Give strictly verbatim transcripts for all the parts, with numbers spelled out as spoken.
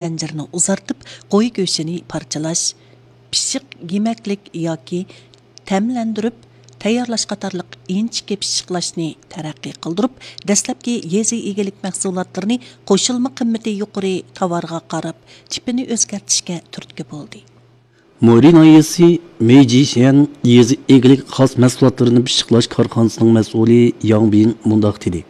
زەنجىرىنى ئۇزارتىپ، قوي گۆشىنى پارچىلاش، پىششىق يېمەكلىك ياكى تەملەندۈرۈپ تەييارلاش قاتارلىق ئىنچىكە پىششىقلاشنى تەرەققىي قىلدۇرۇپ، دەسلەپكى يېزا ئىگىلىك مەھسۇلاتلىرىنى قوشۇلما قىممىتى يۇقىرى تاۋارغا قاراپ، تىپىنى ئۆزگەرتىشكە تۈرتكە بولدى. مورى ناھىيەسى مېيجىشيەن يېزا ئىگىلىك خاس مەھسۇلاتلىرىنى پىششىقلاش كارخانىسىنىڭ مەسئۇلى ياڭ بىن مۇنداق دېدى: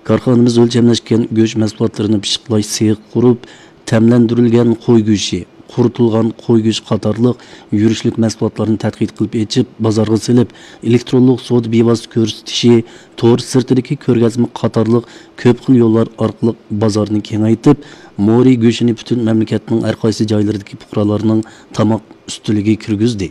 كارخانىمىز ئۆلچەملەشكەن گۆش مەھسۇلاتلىرىنى پىششىقلاش سېخى قۇرۇپ، تەملەندۈرۈلگەن قوي گۆشى، قۇرۇتۇلغان قوي گۆشى قاتارلىق يۈرۈشلۈك مەھسۇلاتلارنى تەتقىق قىلىپ ئېچىپ، بازارغا سېلىپ، ئېلېكترونلۇق سودا بىۋاسىتە كۆرسىتىشى، تور سىرتىدىكى كۆرگەزمە قاتارلىق كۆپ خىل يوللار ئارقىلىق بازارنى كېڭەيتىپ، مورى گۆشىنى پۈتۈن مەملىكەتنىڭ ھەر قايسى جايلىرىدىكى پۇقرالارنىڭ تاماق ئۈستىلىگە كىرگۈزدى.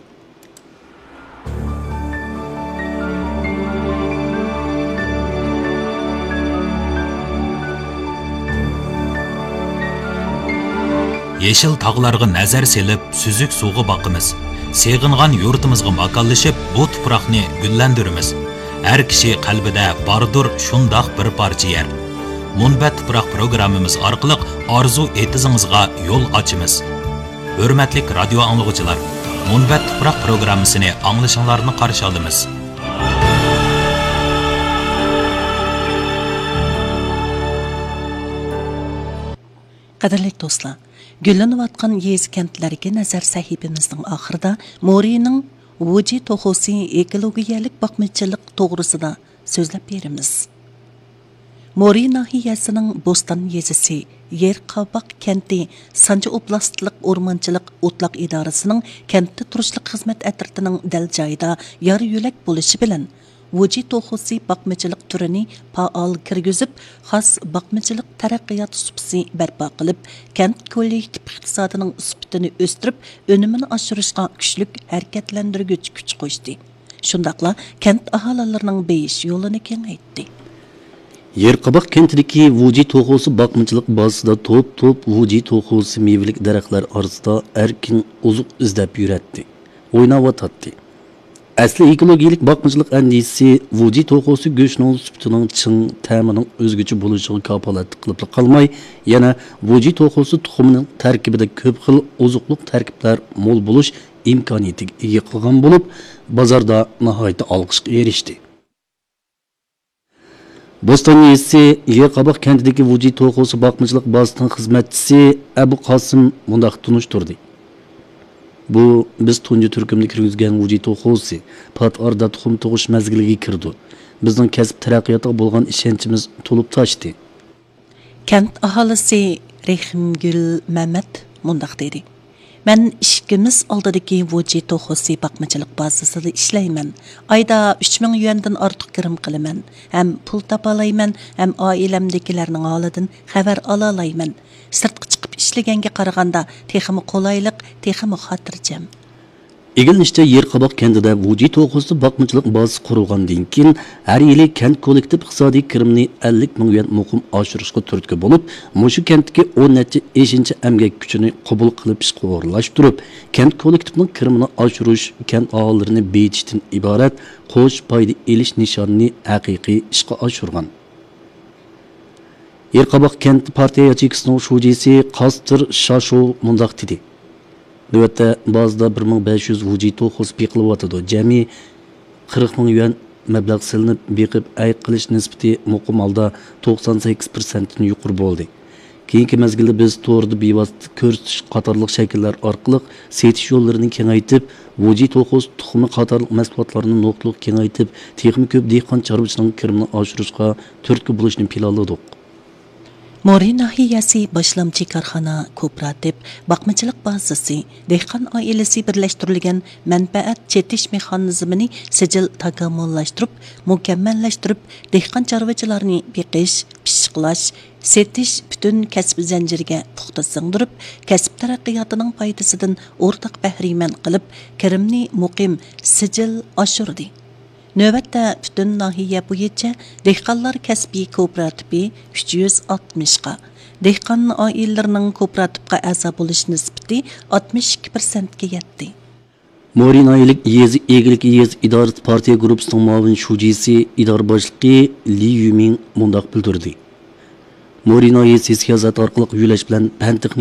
يېشىل تاغلارغا نەزەر سېلىپ، سۈزۈك سۇغا باقىمىز. سېغىنغان يۇرتىمىزغا ماكانلىشىپ، بۇ تۇپراقنى گۈللەندۈرىمىز. ھەر كىشى قەلبىدە باردۇر شۇنداق بىر پارچە يەر. مۇنبەت تۇپراق پروگراممىمىز ئارقىلىق ئارزۇ ئېتىزىڭىزغا يول ئاچىمىز. ھۆرمەتلىك رادىيو ئاڭلىغۇچىلار، مۇنبەت تۇپراق پروگراممىسىنى ئاڭلىشىڭلارنى قارشى ئالىمىز. قەدىرلىك دوستلار، گۈللىنىۋاتقان يېزا كەنتلەرگە نەزەر سەھىپىمىزنىڭ ئاخىرىدا مورىنىڭ ۋۇجى توخۇسى ئېكولوگىيەلىك باقمىچىلىق توغرىسىدا سۆزلەپ بېرىمىز. مورى ناھىيەسىنىڭ بوستان يېزىسى يېرقاباق كەنتى سانجى ئوبلاستلىق ئورمانچىلىق ئوتلاق ئىدارىسىنىڭ كەنتتە تۇرۇشلۇق خىزمەت ئەترىتىنىڭ دەل جايىدا يار يۆلەك بولۇشى بىلەن، ۋۇجى توخۇسى باقمىچىلىق تۈرىنى پائال كىرگۈزۈپ، خاس باقمىچىلىق تەرەققىيات سۇپىسى بەرپا قىلىپ، كەنت كوللېكتىپ ئىقتىسادىنىڭ سۈپىتىنى ئۆستۈرۈپ، ئۈنۈمىنى ئاشۇرۇشقا كۈچلۈك ھەرىكەتلەندۈرگۈچ كۈچ قوشتى. شۇنداقلا كەنت ئاھالىلىرىنىڭ بېيىش يولىنى كېڭەيتتى. يېرقاباق كەنتىدىكى ۋۇجى توخۇسى باقمىچىلىق بازىسىدا توپ-توپ ۋۇجى توخۇسى مېۋىلىك دەرەخلەر ئارىسىدا ئەركىن ئوزۇق ئىزدەپ يۈرەتتى، ئويناۋاتاتتى. ئەسلى ئېكولوگىيەلىك باقمىچىلىق ئەندىزىسى ۋۇجى توخۇسى گۆشىنىڭ سۈپىتىنىڭ چىڭ، تەمىنىڭ ئۆزگىچە بولۇشىغا كاپالەتلىك قىلىپلا قالماي، يەنە ۋۇجى توخۇسى تۇخۇمىنىڭ تەركىبىدە كۆپ خىل ئوزۇقلۇق تەركىبلەر مول بولۇش ئىمكانىيىتىگە ئىگە قىلغان بولۇپ، بازاردا ناھايىتى ئالقىشقا ئېرىشتى. بوستان يېزىسى يېرقاباق كەنتىدىكى ۋۇجى توخۇسى باقمىچىلىق بازىسىنىڭ خىزمەتچىسى ئەبۇ قاسىم مۇنداق تونۇشتۇردى: بۇ بىز تۇنجى تۈركۈمدە كىرگۈزگەن ۋۇجى توخۇسى پات ئارىدا تۇخۇم تۇغۇش مەزگىلىگە كىرىدۇ. بىزنىڭ كەسىپ تەرەققىياتىغا بولغان ئىشەنچىمىز تولۇپ تاشتى. كەنت ئاھالىسى رېھىمگۈل مەمەت مۇنداق دېدى: مەن ئىشىكىمىز ئالدىدىكى ۋۇجى توخۇسى باقمىچىلىق بازىسىدا ئىشلەيمەن. ئايدا ئۈچ مىڭ يۈەندىن ئارتۇق كىرىم قىلىمەن ھەم پۇل تاپالايمەن ھەم ئائىلەمدىكىلەرنىڭ ھالىدىن خەۋەر ئالالايمەن. سىرتقا چىقىپ ئىشلىگەنگە قارىغاندا تېخىمۇ قولايلىق، تېخىمۇ خاتىرجەم. ئىگىلىنىشىچە، يېرقاباق كەنتىدە ۋۇجى توخۇسى باقمىچىلىق بازىسى قۇرۇلغاندىن كېيىن، ھەر يىلى كەنت كوللېكتىپ ئىقتىسادىي كىرىمىنى ئەللىك مىڭ يۈەن مۇقىم ئاشۇرۇشقا تۈرتكە بولۇپ، مۇشۇ كەنتتىكى ئون نەچچە ئېشىنچە ئەمگەك كۈچىنى قوبۇل قىلىپ ئىشقا ئورۇنلاشتۇرۇپ، كەنت كوللېكتىپىنىڭ كىرىمىنى ئاشۇرۇش، كەنت ئاھالىلىرىنى بېيىتىشتىن ئىبارەت قوش پايدا ئېلىش نىشانىنى ھەقىقىي ئىشقا ئاشۇرغان. يېرقاباق كەنت پارتىيە ياچېيكىسىنىڭ شۇجىسى قاستىر شاشو مۇنداق دېدى: نۆۋەتتە بازىدا بىر مىڭ بەش يۈز ۋۇجى توخۇسى بېقىلىۋاتىدۇ. جەمئىي قىرىق مىڭ يۈەن مەبلەغ سېلىنىپ، بېقىپ ئەي قىلىش نىسبىتى مۇقىم ھالدا توقسان سەككىز پىرسەنتتىن يۇقىرى بولدى. كېيىنكى مەزگىلدە بىز توردا بىۋاسىتە كۆرسىتىش قاتارلىق شەكىللەر ئارقىلىق سېتىش يوللىرىنى كېڭەيتىپ، ۋۇجى توخۇسى تۇخۇمى قاتارلىق مەھسۇلاتلارنى نۇقتىلىق كېڭەيتىپ، تېخىمۇ كۆپ دېھقان چارۋىچىنىڭ كىرىمىنى ئاشۇرۇشقا تۈرتكە بولۇشنى پىلانلىدۇق. مورى ناھىيەسى باشلامچى كارخانا كوپىراتىپ باقمىچىلىق بازىسى دېھقان ئائىلىسى بىرلەشتۈرۈلگەن مەنپەئەت چېتىش مېخانىزمىنى سىجىل تاكامۇللاشتۇرۇپ، مۇكەممەللەشتۈرۈپ، دېھقان چارۋىچىلارنى بېقىش، پىششىقلاش، سېتىش پۈتۈن كەسىپ زەنجىرىگە پۇختا سىڭدۈرۈپ، كەسىپ تەرەققىياتىنىڭ پايدىسىدىن ئورتاق بەھرىمەن قىلىپ، كىرىمنى مۇقىم، سىجىل ئاشۇردى. نۆۋەتتە پۈتۈن ناھىيە بويىچە دېھقانلار كەسپىي كوپىراتىپى ئۈچ يۈز ئاتمىشقا، دېھقان ئائىلىلىرىنىڭ كوپىراتىپقا ئەزا بولۇش نىسبىتى ئاتمىش ئىككى پىرسەنتكە يەتتى. مورى ناھىيەلىك يېزا ئىگىلىكى يېزا ئىدارىسى پارتىيە گۇرۇپپىسىنىڭ مۇئاۋىن شۇجىسى، ئىدارە باشلىقى لى يۈمىڭ مۇنداق بىلدۈردى: مورىنو يېزىسى سىياسەت ئارقىلىق يۆلەش بىلەن پەن